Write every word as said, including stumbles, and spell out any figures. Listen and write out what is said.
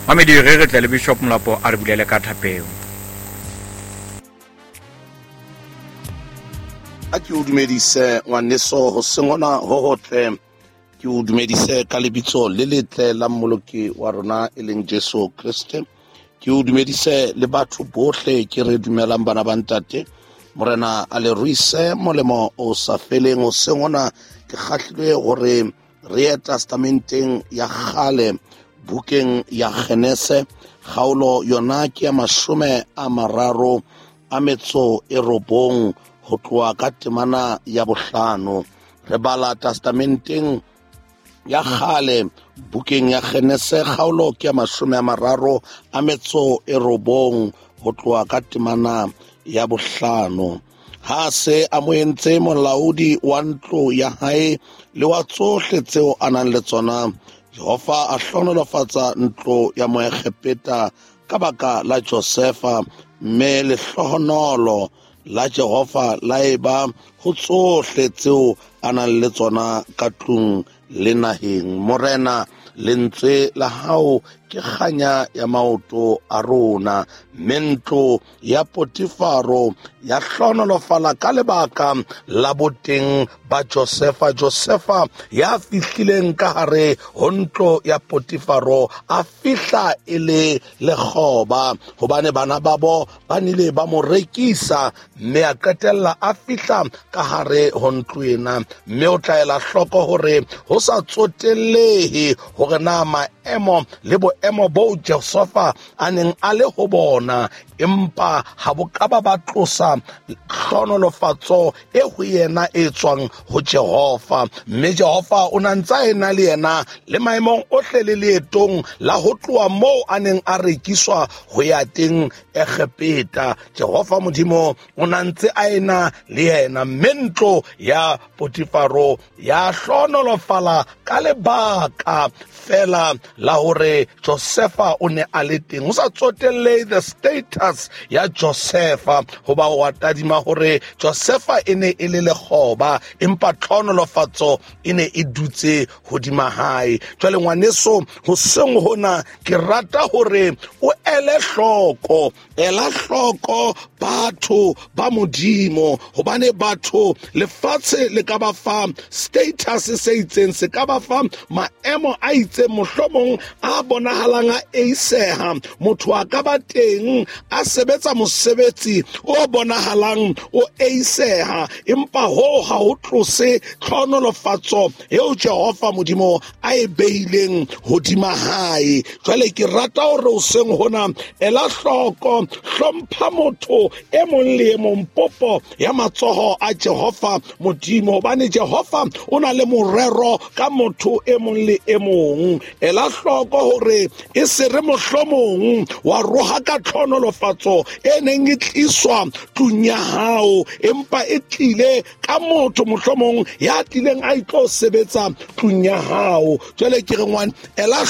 Mamedi, re re tle le Bishop Molapo a re bulele ka thapelo. A ke o dumedise ngwaneso hoseng hona ho hotle, ke o dumedise ka lebitso le letle la Mmoloki wa rona e leng Jesu Kreste. Ke o dumedise le batho bohle ke re dumelang bana ba ntate. Morena a le ruise molemo o sa feleng. Hoseng hona ke kgahlilwe hore re ye testamenteng ya kgale, bukeng ya Genese, kgaolo yona ke ya mashome a mararo a metso e robong ho tloha ka temana ya bohlano. Re bala testamenteng ya kgale, bukeng ya Genese, kgaolo ke ya mashome a mararo a metso e robong ho tloha ka temana ya bohlano. Ha se a mo entse molaodi wa ntlo ya hae le wa tsohle tseo a nang le tsona, Jehova a hlohonolofatsa ntlo ya Moegepeta ka baka la Josefa, mme lehlohonolo la Jehova la eba ho tsohle tseo a nang le tsona ka tlung le naheng. Morena, lentswe la hao ke kganya ya maoto a rona, mme ntlo ya Potifaro ya hlohonolofala ka lebaka la boteng ba Josefa. Josefa ya fihlileng ka hare ho ntlo ya Potifaro a fihla e le lekgoba, hobane bana babo ba nile ba mo rekisa, mme a qetella a fihla ka hare ho ntlo ena. Mme o tla ela hloko hore ho sa tsotellehe hore na maemo le boemo boo Josefa a neng a le ho bona, empa ha bo ka ba ba tlosa hlohonolofatso e ho yena e tswang ho Jehova. Mme Jehova o na ntse a ena le yena le maemong ohle le leetong la ho tloha moo a neng a rekiswa ho ya teng Egepeta. Jehova Modimo o na ntse a ena le yena, mme ntlo ya Potifaro ya hlohonolofala ka lebaka fela la hore Josefa o ne a le teng. Ho sa tsotellehe the status ya Josefa, hoba wa tadima hore Josefa e ne e le lekgoba, empa tlhohonolofatso e ne e dutse hodima hae. Jwale ngwaneso, hoseng hona ke rata hore o ele hloko, ela hloko batho ba Modimo, hobane batho lefatshe le ka ba fa status se itseng, se ka ba fa maemo a itseng, mohlomong a bonahalang a eiseha. Motho a ka ba teng a sebetsa mosebetsi o bonahalang o eiseha, empa hoo ha ho tlose tlhohonolofatso eo Jehova Modimo a e behileng hodima hae. Jwale ke rata hore hoseng hona ela hloko, hlompha motho e mong le e mong, popo ya matsoho a Jehova Modimo, hobane Jehova o na le morero ka motho e mong le e mong. Ela hloko hore e se re mohlomong wa roha ka tlhohonolofatso e neng e tliswa tlung ya hao, empa e tlile ka motho mohlomong ya tlileng a itlo sebetsa tlung ya hao. Jwale ke re ngwane, ela